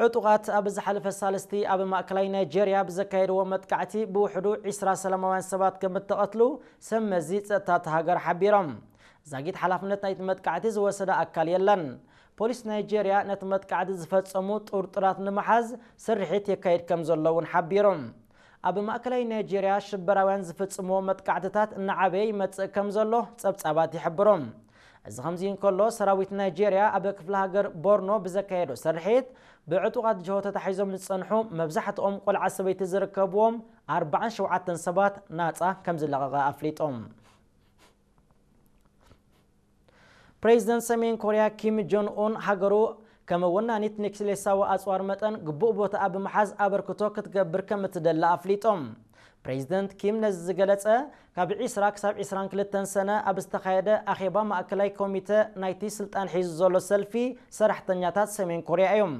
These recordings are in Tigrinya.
ዕጡቓት ኣብ ዝሓለፈ ሳልስቲ ኣብ ማእከላይ ናይጄርያ ብዘካየድዎ መጥቃዕቲ ብውሕዱ ዒስራ ሰላማውያን ሰባት ከም እተቐትሉ ሰብ መዚ ጸጥታ እታ ሃገር ሓቢሮም። ዛጊት ሓላፍነት ናይቲ መጥቃዕቲ ዝወሰደ ኣካል የለን። ፖሊስ ናይጄርያ ነቲ መጥቃዕቲ ዝፈጸሙ ጥርጡራት ንምሓዝ ስርሒት የካይድ ከም ዘሎ እውን ሓቢሮም። ኣብ ማእከላይ ናይጄርያ ሽበራውያን ዝፍጽምዎ መጥቃዕትታት እናዓበየ ይመጽእ ከም ዘሎ ጸብጻባት ይሕብሩ። እዚ ከምዚ እንከሎ፣ ሰራዊት ናይጄርያ ኣብ ክፍለ ሃገር ቦርኖ ብዘካየዶ ስርሒት፣ ብዕጡቓት ጅሆ ተታሒዞም ዝጸንሑ፣ መብዛሕትኦም ቆልዓ ሰበይቲ ዝርከብዎም ኣርባዓን ሸውዓተን ሰባት ናጻ ከም ዝለቐቐ ኣፍሊጦም። ፕሬዚደንት ሰሜን ኮርያ ኪም ጆን ኡን፣ ሃገሩ ከም ወናኒት ኒክሌሳዊ ኣጽዋር መጠን ግቡእ ቦታ ኣብ ምሓዝ ኣበርክቶ ክትገብር ከም እትደሊ ኣፍሊጦም። ፕሬዚደንት ኪም ነዚ ዝገለጸ፣ ካብ ዒስራ ክሳብ ዒስራን ክልተን ሰነ ኣብ ዝተኻየደ ኣኼባ ማእከላይ ኮሚተ ናይቲ ስልጣን ሒዙ ዘሎ ሰልፊ ሰራሕተኛታት ሰሜን ኮርያ እዮም።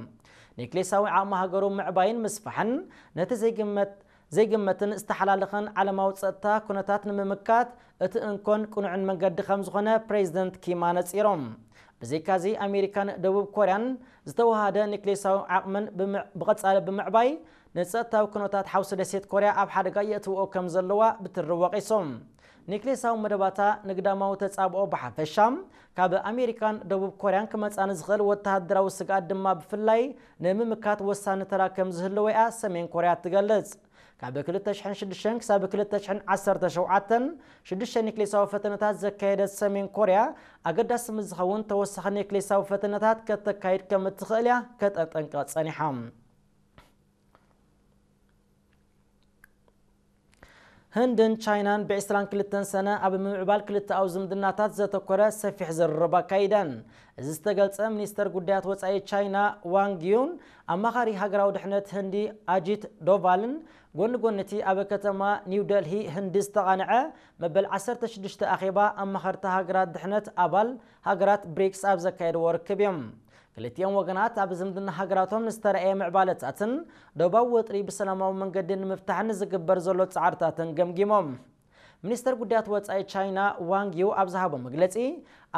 ኒክሌሳዊ ዓቕሚ ሃገሩ ምዕባይን ምስፋሕን፣ ነቲ ዘይግመት ዘይግመትን ዝተሓላለኸን ዓለማዊ ጸጥታ ኩነታት ንምምካት እቲ እንኮን ቅኑዕን መንገዲ ከም ዝኾነ ፕሬዚደንት ኪም ኣነጺሮም። ብዘይካዚ፣ ኣሜሪካን ደቡብ ኮርያን ዝተወሃደ ኒክሌሳዊ ዓቕመን ብምዕ-፣ ብቐጻሊ ብምዕባይ፣ ንጸጥታዊ ኩነታት ሓውሲ ደሴት ኮርያ ኣብ ሓደጋ የእትውኦ ከም ዘለዋ ብትሪ ወቒሶም። ኒክሌሳዊ መደባታ ንግዳማዊ ተጻብኦ ብሓፈሻ፣ ካብ ኣሜሪካን ደቡብ ኮርያን ክመጻ ንዝኽእል ወተሃደራዊ ስግኣት ድማ ብፍላይ ንምምካት ወሳኒ ተራ ከም ዝህልዎ እያ ሰሜን ኮርያ ትገልጽ። ካብ ክልተ ሽሕን ሽዱሽተን ክሳብ ክልተ ሽሕን ዓሰርተ ሸውዓተን፣ ሽዱሽተ ኒክሌሳዊ ፈተነታት ዘካየደት ሰሜን ኮርያ፣ ኣገዳሲ ምስ ዝኸውን ተወሳኺ ኒክሌሳዊ ፈተነታት ከተካይድ ከም እትኽእል እያ ከተጠንቅቕ ጸኒሓ። ህንድን ቻይናን ብዕስራን ክልተን ሰነ ኣብ ምምዕባል ክልተኣዊ ዝምድናታት ዘተኮረ ሰፊሕ ዝርርብ ኣካይደን። እዚ ዝተገልጸ፣ ሚኒስተር ጉዳያት ወጻኢ ቻይና ዋንግ ዩን፣ ኣማኻሪ ሃገራዊ ድሕነት ህንዲ ኣጂት ዶቫልን ጎኒ ጎኒ እቲ ኣብ ከተማ ኒው ደልሂ ህንዲ ዝተቓንዐ መበል ዓሰርተ ሽዱሽተ ኣኼባ ኣማኸርቲ ሃገራት ድሕነት ኣባል ሃገራት ብሪክስ ኣብ ዘካየድዎ ርክብ እዮም። ክልቲኦም ወገናት ኣብ ዝምድና ሃገራቶም ንዝተረኣየ ምዕባለታትን ዶባዊ ወጥሪ ብሰላማዊ መንገዲ ንምፍታሕን ዝግበር ዘሎ ጻዕርታትን ገምጊሞም። ሚኒስተር ጉዳያት ወጻኢ ቻይና ዋንግ ዩ ኣብ ዝሃቦ መግለጺ፣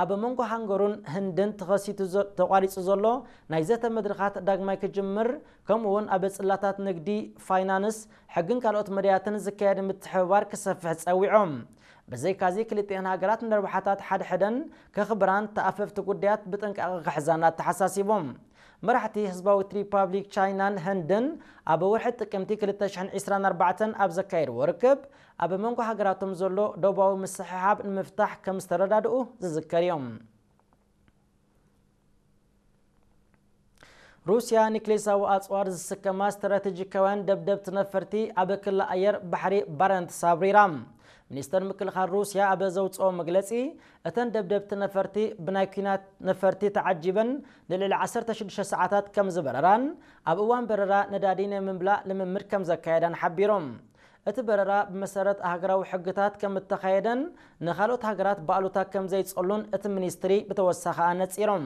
ኣብ መንጎ ሃንገሩን ህንድን ተኸሲቱ ዘ-፣ ተቋሪጹ ዘሎ ናይ ዘተ መድረኻት ዳግማይ ክጅምር፣ ከምኡ እውን ኣብ ጽላታት ንግዲ፣ ፋይናንስ፣ ሕግን ካልኦት መዳያትን ዝካየድ ምትሕብባር ክሰፍሕ ጸዊዖም። ብዘይካዚ፣ ክልቲኣን ሃገራት ንረብሓታት ሓድሕደን ከኽብራን ተኣፈፍቲ ጉዳያት ብጥንቃቐ ክሕዛን ኣተሓሳሲቦም። መራሕቲ ህዝባዊት ሪፓብሊክ ቻይናን ህንድን ኣብ ወርሒ ጥቅምቲ ክልተ ሽሕን ዕስራን ኣርባዕተን ኣብ ዘካየድዎ ርክብ፣ ኣብ መንጎ ሃገራቶም ዘሎ ዶባዊ ምስሕሓብ ንምፍታሕ ከም ዝተረዳድኡ ዝዝከር እዮም። ሩስያ ኒክሌሳዊ ኣጽዋር ዝስከማ ስትራቴጂካውያን ደብደብቲ ነፈርቲ ኣብ ክሊ ኣየር ባሕሪ ባረንትስ ኣብሪራ። ሚኒስተር ምክልኻል ሩስያ ኣብ ዘውጽኦ መግለጺ፣ እተን ደብደብቲ ነፈርቲ ብናይ ኲናት ነፈርቲ ተዓጂበን ንልዕሊ ዓሰርተ ሽዱሽተ ሰዓታት ከም ዝበረራን፣ ኣብ እዋን በረራ ነዳዲ ናይ ምምላእ ልምምድ ከም ዘካየዳን ሓቢሮም። እቲ በረራ ብመሰረት ኣህጉራዊ ሕግታት ከም እተኻየደን ንኻልኦት ሃገራት ብኣሉታ ከም ዘይጸሉን እቲ ሚኒስትሪ ብተወሳኺ ኣነጺሮም።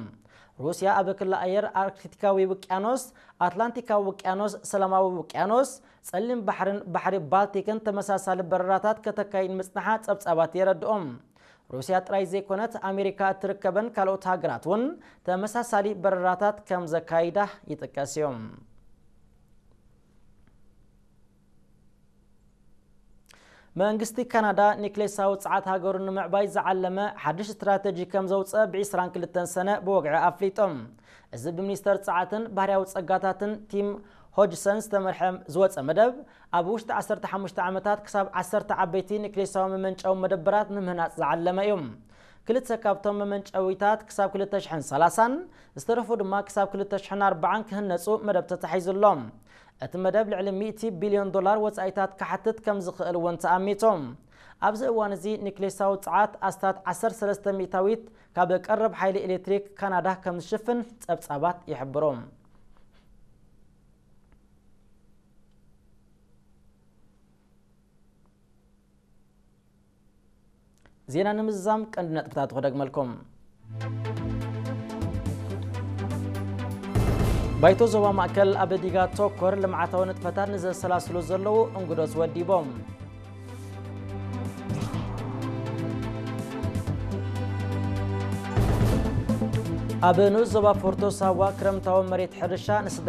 ሩስያ ኣብ ክሊ ኣየር ኣርክቲካዊ ውቅያኖስ፣ ኣትላንቲካዊ ውቅያኖስ፣ ሰላማዊ ውቅያኖስ፣ ጸሊም ባሕርን ባሕሪ ባልቲክን ተመሳሳሊ በረራታት ከተካይድ ምጽንሓ ጸብጻባት የረድኦም። ሩስያ ጥራይ ዘይኮነት፣ ኣሜሪካ እትርከበን ካልኦት ሃገራት እውን ተመሳሳሊ በረራታት ከም ዘካይዳ ይጥቀስ እዩ። መንግስቲ ካናዳ ኒክሌሳዊ ጸዓት ሃገሩ ንምዕባይ ዝዓለመ ሓድሽ ስትራተጂ ከም ዘውጸ ብ ዕስራን ክልተን ሰነ ብወግዒ ኣፍሊጦም። እዚ ብሚኒስተር ጸዓትን ባህርያዊ ጸጋታትን ቲም ሆጅሰን ዝተመርሐ ዝወጸ መደብ፣ ኣብ ውሽጢ ዓሰርተ ሓሙሽተ ዓመታት ክሳብ ዓሰርተ ዓበይቲ ኒክሌሳዊ መመንጨዊ መደበራት ንምህናጽ ዝዓለመ እዩ። ክልተ ካብቶም መመንጨዊታት ክሳብ ክልተ ሽሕን ሰላሳን፣ ዝተረፉ ድማ ክሳብ ክልተ ሽሕን ኣርባዓን ክህነጹ መደብ ተታሒዙ ኣሎ። እቲ መደብ ልዕሊ ሚእቲ ቢልዮን ዶላር ወጻኢታት ክሓትት ከም ዝኽእል እውን ተኣሚቱ። ኣብዚ እዋን እዚ ኒክሌሳዊ ጸዓት ኣስታት ዓሰርተ ሰለስተ ሚእታዊት ካብ ቀረብ ሓይሊ ኤሌክትሪክ ካናዳ ከም ዝሽፍን ጸብጻባት ይሕብሩ። ዜና ንምዝዛም ቀንዲ ነጥብታት ክደግመልኩም። ባይቶ ዞባ ማእከል ኣብ ዲጋ ተኮር ልምዓታዊ ንጥፈታት ንዘሰላስሉ ዘለዉ እንግዶት ወዲቦም። ኣብ ንኡስ ዞባ ፎርቶ ሳዋ ክረምታዊ መሬት ሕርሻ ንስድራ